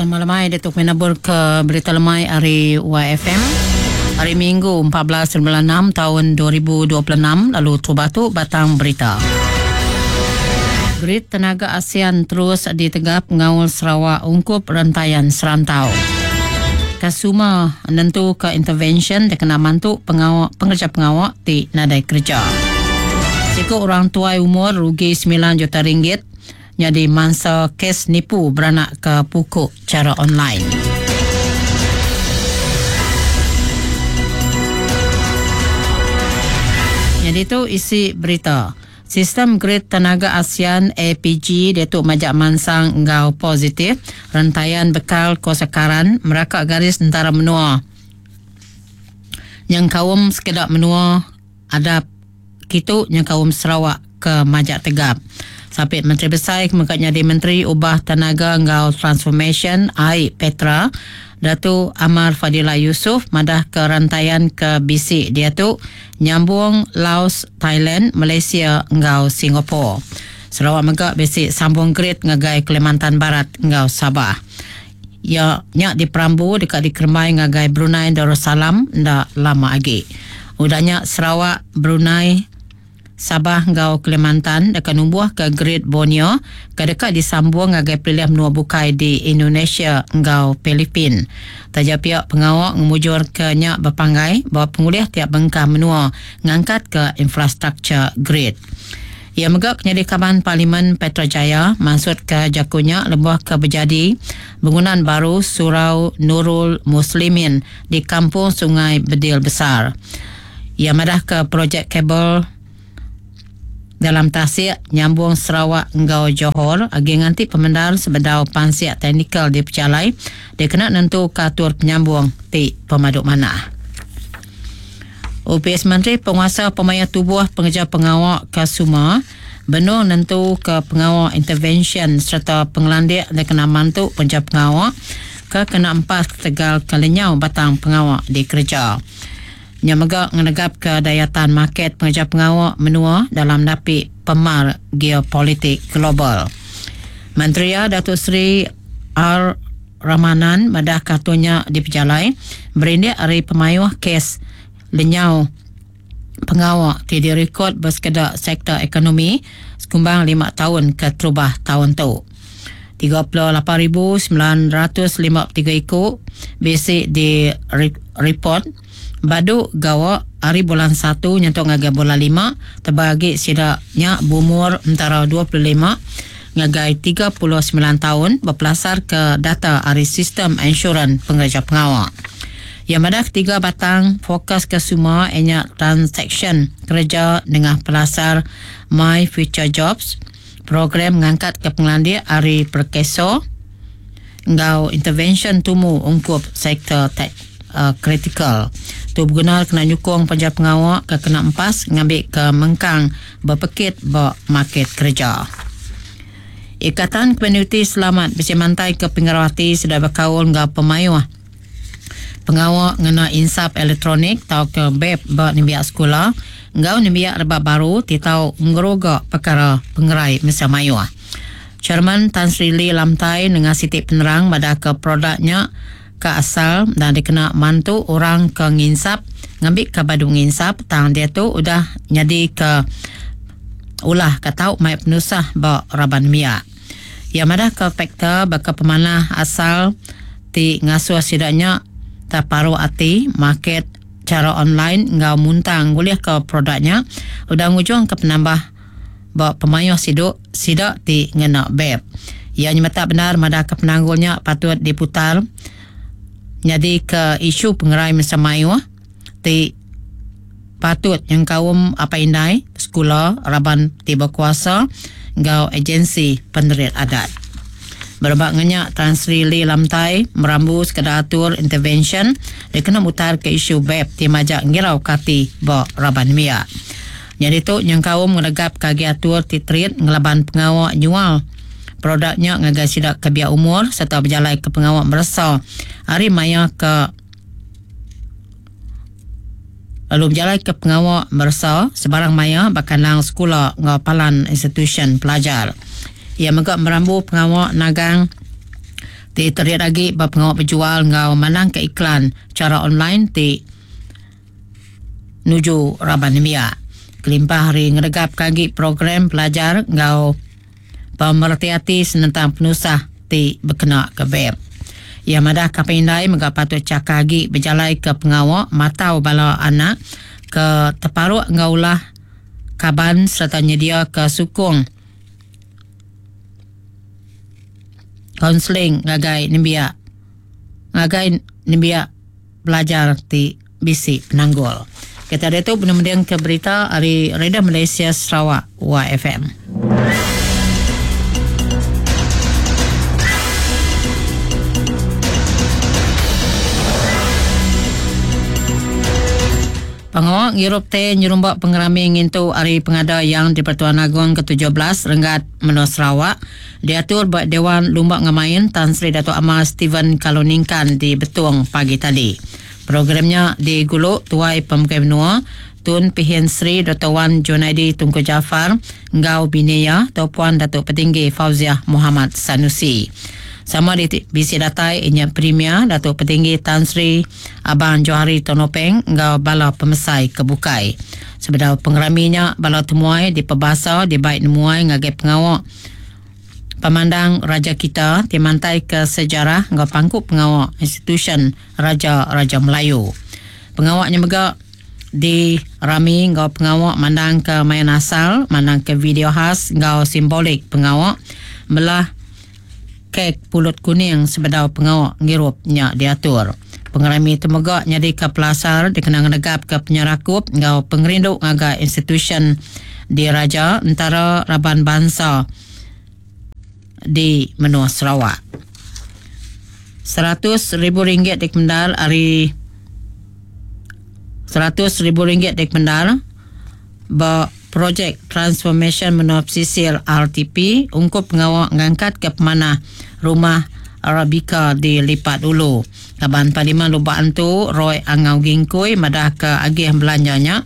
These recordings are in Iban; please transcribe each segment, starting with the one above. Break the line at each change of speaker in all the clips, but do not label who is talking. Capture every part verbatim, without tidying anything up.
Selamat lemai Datuk Menabur ke Berita Lemai hari Y F M. Hari Minggu empat belas bulan enam tahun dua ribu dua puluh enam, lalu tu batang berita. Grid Tenaga ASEAN terus ditegap ngawal Sarawak ungkup rentayan serantau. Kasuma nentu ke intervention dikena mantu pengawak pengerja pengawak ti nadai kerja. Siku orang tuai umur rugi sembilan juta ringgit jadi mangsa kes nipu beranak ke pukuk cara online. Jadi tu isi berita. Sistem Grid Tenaga ASEAN A P G dia tu majak mansang enggau positif rentayan bekal kosakaran meraka garis antara menua. Yang kaum sekedak menua ada kitu yang kaum Sarawak ke majak tegap. Sapit Menteri Besar mengkat jadi Menteri Ubah Tenaga enggau Transformation A I Petra Datu Amar Fadillah Yusof madah ke rantaian ke B C dia tu nyambung Laos, Thailand, Malaysia enggau Singapura. Sarawak mega bisi sambung grid ngagai Kalimantan Barat enggau Sabah. Ya nyak di Perambu dekat di Kermai ngagai Brunei Darussalam ndak lama lagi. Udahnya Sarawak, Brunei, Sabah enggau Kalimantan dekat numbuh ke Grid Borneo ke dekat disambung ngagai pilihan menua bukai di Indonesia enggau Filipin. Taja pihak pengawak ngemujur ke nyak berpanggai bahawa pengulih tiap bengkah menua ngangkat ke infrastruktur grid. Ia megak penyelidik Kaban Parlimen Petrajaya maksud ke jakunya lebuh ke berjadi bangunan baru Surau Nurul Muslimin di Kampung Sungai Bedil Besar. Ia madah ke projek kabel dalam tasik nyambung Sarawak enggau Johor agi nganti pemendar sebedau pansiak teknikal di Pejalai dia kena nentu katur penyambung ti pemaduk mana. O P S Menteri Penguasa Pemaya Tubuh Pengejar Pengawak Kasuma benung nentu ke pengawak intervention serta pengelandik dia kena mantu pengejar pengawak ke kena empas tegal kelenyau batang pengawak di kerja. Nya mega ngenegap ke dayatan market pengejar pengawak menua dalam napi pemar geopolitik global. Menteri Datuk Seri R. Ramanan madah katunya di Pejalai berindik hari pemayuh kes lenyau pengawak ti direkod bersekedak sektor ekonomi sekumbang lima tahun ke terubah tahun tu. tiga puluh lapan ribu sembilan ratus lima puluh tiga ikut basic di report badu gawak hari bulan satu nyentuk ngagai bulan lima terbagi sidaknya bumur antara dua puluh lima ngagai tiga puluh sembilan tahun berpelasar ke data hari sistem insurans pengerja pengawak. Yang madah ketiga batang fokus ke semua ianya transaction kerja dengan pelasar My Future Jobs, program mengangkat ke pengelandik hari perkeso enggau intervention tumu ungkup sektor tech Uh, kritikal. Tu berguna kena nyukung penjaga pengawak ke kena empas ngambil ke mengkang berpekit ba market kerja. Ikatan Komuniti Selamat Besi Mantai ke Pengerawati sudah berkaul enggau pemayuh pengawak ngena insap elektronik atau ke B E P ba nembiak sekolah enggau nembiak rebak baru ti tau ngeroga perkara pengerai mesa mayuh. Chairman Tan Sri Lee Lamtai dengan sitik penerang pada ke produknya ke asal dan dikena mantu orang ke nginsap ngambil ke badu nginsap tang dia tu udah jadi ke ulah ke tau mai penusah ba raban miak. Ia madah ke faktor baka pemanah asal ti ngasuh sidaknya terparuh ati market cara online ngau muntang boleh ke produknya udah ngujung ke penambah ba pemayuh siduk sidak ti ngena B E P. Ia nyemetak benar madah ke penanggulnya patut diputar jadi ke isu pengerai masa mayuh ti patut yang kaum apa indai sekolah raban tiba kuasa ngau agensi penerit adat. Berebak ngenyak Tan Sri Lee Lamtai merambu sekadar atur intervention dia kena mutar ke isu B E P ti majak ngirau kati ba raban miak. Jadi tu yang kaum ngelegap kagi atur ti treat ngelaban pengawak nyual produknya ngagai sidak ke biak umur serta berjalan ke pengawak merasa hari maya ke lalu berjalan ke pengawak merasa sebarang maya bakalang sekolah ngau palan institution pelajar. Ia megak merambu pengawak nagang Ti terit lagi ba pengawa berjual ngau manang ke iklan cara online ti nuju raban nembiak. Kelimpah hari ngeregap kagi program pelajar ngau pemerhati hati senentang penusah ti berkena ke web. Ia madah kapindai mega patut cakap agi berjalai ke pengawak matau bala anak ke terparuk ngaulah kaban serta nyedia ke sukung konseling ngagai nembiak ngagai nembiak belajar ti bisi penanggul. Kita ada tu penemudian ke berita dari Radio Malaysia Sarawak Y F M. Pengawak ngirup teh nyerumbak pengerami ngintu hari pengada yang di Pertuan Agong ke tujuh belas Renggat Menua Sarawak diatur buat Dewan Lumbak Ngemain Tan Sri Datuk Amar Stephen Kaloningkan di Betong pagi tadi. Programnya diguluk Tuai Pemegai Menua Tun Pehin Sri Doktor Wan Junaidi Tunku Jaafar Ngau Binia atau Puan Datuk Petinggi Fauziah Muhammad Sanusi. Sama di bisi datai inya Premier Datuk Petinggi Tan Sri Abang Johari Tonopeng ngau bala pemesai kebukai. Sebedau pengeraminya bala temuai di pebasa di baik nemuai ngagai pengawak pemandang Raja kita ti mantai ke sejarah ngau pangku pengawak institution Raja-Raja Melayu. Pengawaknya mega di rami ngau pengawak mandang ke main asal, mandang ke video khas ngau simbolik pengawak melah kek pulut kuning sebedau pengawak ngirup nya diatur. Pengerami temegak nyadi ke pelasar dikenang negap ke penyerakup ngau pengerinduk ngagai institution di Raja antara raban bangsa di Menua Sarawak. Seratus ribu ringgit dikendal hari seratus ribu ringgit dikendal ba projek Transformation Menua Pesisir R T P ungkup pengawak ngangkat ke pemanah rumah Arabica di Lipat Ulu. Kaban Parlimen Lubak Antu Roy Angau Gingkui madah ke agih belanjanya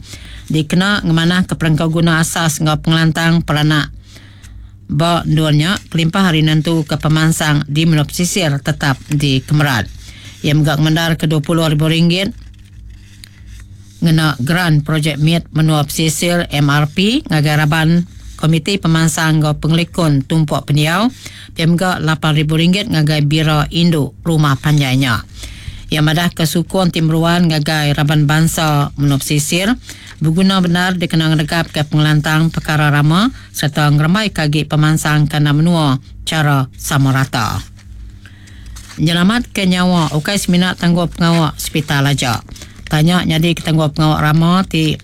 dikena ngemanah ke perengkau guna asas ngau pengelantang peranak ba duanya kelimpah hari nentu ke pemansang di Menua Pesisir tetap di Kemerat. Ia megak mendar ke dua puluh ribu ringgit ngena grant projek M I T Menua Pesisir M R P ngagai raban Komiti Pemansang ngau Pengelikun Tumpuk Pendiau P M G lapan ribu ringgit ngagai Bira Induk Rumah Panjainya. Ia madah kesukun timruan ngagai raban bangsa Menua Pesisir berguna benar dikenang negap ke pengelantang perkara rama serta ngerembai kagi pemansang kena menua cara sama rata. Nyelamat ke nyawa ukai seminat tangguh pengawak hospital aja. Tanya nyadi ke tangguh pengawak rama ti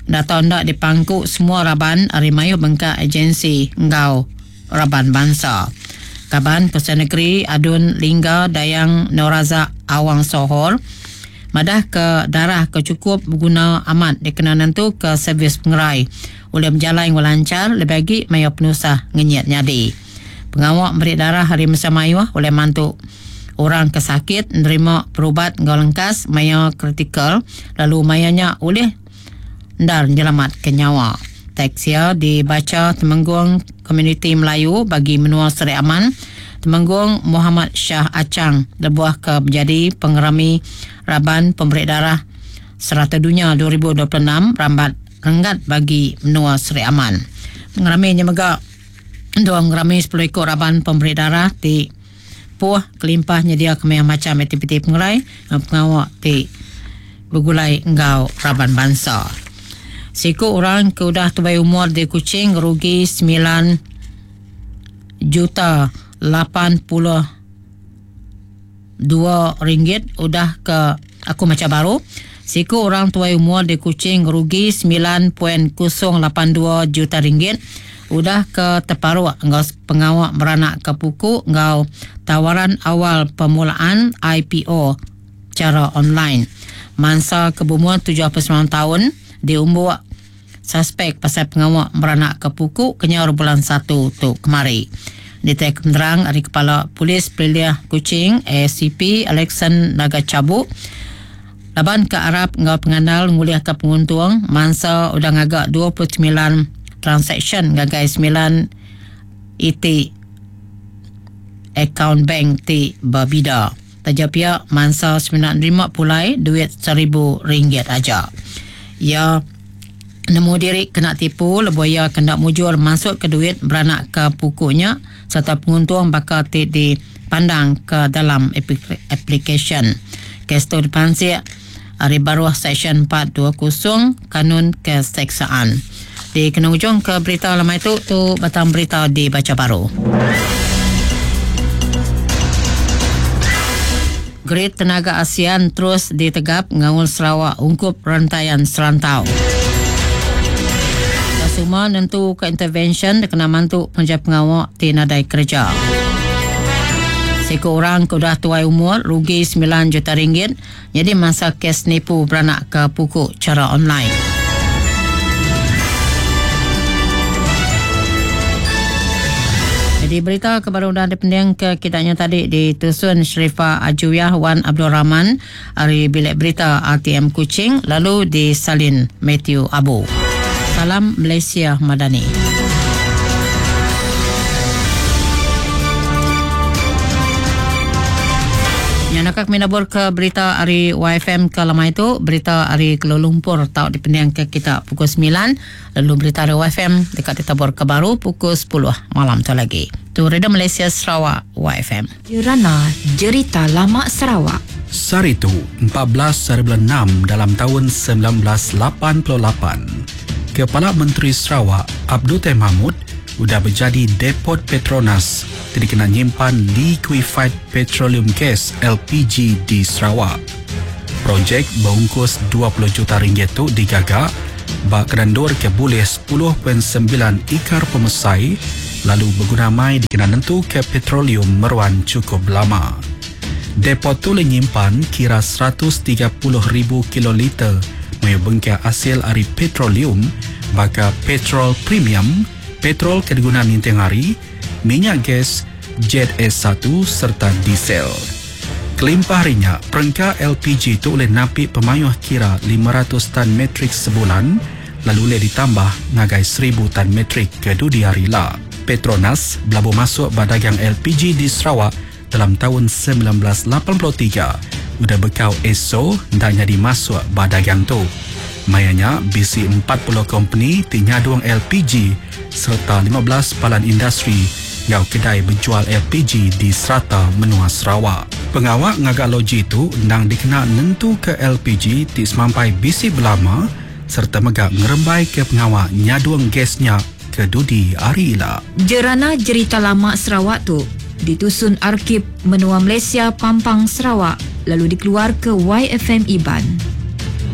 data ndak dipangku semua raban ari mayu bengkak agensi ngau raban bangsa. Kaban Pesan Negeri Adun Lingga Dayang Noraza Awang Sohor madah ke darah ke cukup berguna amat dikena nentu ke servis pengerai oleh berjalan dengan lancar lebih lagi maya penusah ngenyit nyadi. Pengawak beri darah hari masa mayuh oleh mantu orang ke sakit menerima perubat ngau lengkas maya kritikal lalu mayanya oleh ndar nyelamat ke nyawa. Teks dibaca Temenggung Komuniti Melayu bagi Menua Seri Aman Temenggung Muhammad Shah Acang lebuah ke menjadi pengerami Raban Pemberi Darah Serata Dunia dua ribu dua puluh enam rambat renggat bagi Menua Seri Aman. Pengeraminya mega dua pengerami sepuluh ekor Raban Pemberi Darah di Puah kelimpah nyedia kemaya macam aktiviti pengerai pengawak di bergulai enggau raban bangsa. Siku orang ke udah tubai umur di Kuching rugi sembilan juta lapan puluh dua ringgit udah ke aku macam baru. Siku orang tuai umur di Kuching rugi sembilan koma kosong lapan dua juta ringgit udah ke terparuk enggau pengawak beranak ke puku enggau tawaran awal permulaan I P O cara online. Mangsa kebumuan tujuh puluh sembilan tahun diumbuk suspek pasal pengawak beranak ke puku kenyau bulan satu tu kemari. Ditek penerang dari Kepala Polis Peliliah Kuching A C P Alexan Naga Cabuk laban ke Arab enggau pengandal nguliah ke penguntung mangsa udah ngagak dua puluh sembilan transaction ngagai sembilan I T Akaun bank ti berbida. Taja pihak mangsa sembilan lima pulai duit seribu ringgit aja. Ya nemu diri kena tipu lebuh ia kena mujur masuk ke duit beranak ke pukunya serta penguntung bakal ti dipandang ke dalam application. Kes tu dipansik hari baruh Seksyen empat dua kosong Kanun Keseksaan. Di kena ujung ke berita lama itu tu batang berita dibaca baru. Grid Tenaga ASEAN terus ditegap ngawal Sarawak ungkup rantaian serantau. Semua nentu ke intervention kena mantu penjaga pengawal ti nadai kerja. Seko orang ke udah tuai umur rugi sembilan juta ringgit jadi masa kes nipu beranak ke pukul cara online. Jadi berita kebaru dan dipending ke kitanya tadi di Tusun Sharifah Ajuya Wan Abdul Rahman hari bilik berita R T M Kuching lalu di Salin Matthew Abu. Salam Malaysia Madani. Yang nak kami nabur ke berita hari Y F M ke lama itu, berita hari Kuala Lumpur tau dipending ke kita pukul sembilan, lalu berita hari Y F M dekat ditabur ke baru pukul sepuluh malam tu lagi. Tu Radio Malaysia Sarawak Y F M.
Jerana Jerita Lama Sarawak.
Saritu empat belas bulan enam dalam tahun sembilan belas lapan puluh lapan. Kepala Menteri Sarawak Abdul Taib Mahmud sudah berjadi depot Petronas jadi kena nyimpan liquefied petroleum gas L P G di Sarawak. Projek berungkus dua puluh juta ringgit tu digagak bak kerendur ke boleh sepuluh perpuluhan sembilan ikar pemesai lalu berguna mai dikena nentu ke petroleum meruan cukup lama. Depot tu nyimpan kira seratus tiga puluh ribu kiloliter mayu bengkak hasil ari petroleum baka petrol premium, petrol kegunaan ninting hari, minyak gas, jet S satu serta diesel. Kelimpah harinya, perengka L P G itu boleh napik pemayuh kira lima ratus tan metrik sebulan, lalu boleh ditambah ngagai seribu tan metrik ke dudi hari lah. Petronas belabu masuk badagang L P G di Sarawak dalam tahun sembilan belas lapan puluh tiga. Udah bekau E S O dan jadi masuk badagang tu. Mayanya B C empat puluh company tinyaduang L P G serta lima belas palan industri ngau kedai berjual L P G di serata menua Sarawak. Pengawak ngagak loji itu nang dikena nentu ke L P G ti semampai B C belama serta megak ngerembai ke pengawak nyaduang gasnya ke dudi hari ila.
Jerana Jerita Lama Sarawak tu ditusun Arkib Menua Malaysia Pampang Sarawak lalu dikeluar ke Y F M Iban.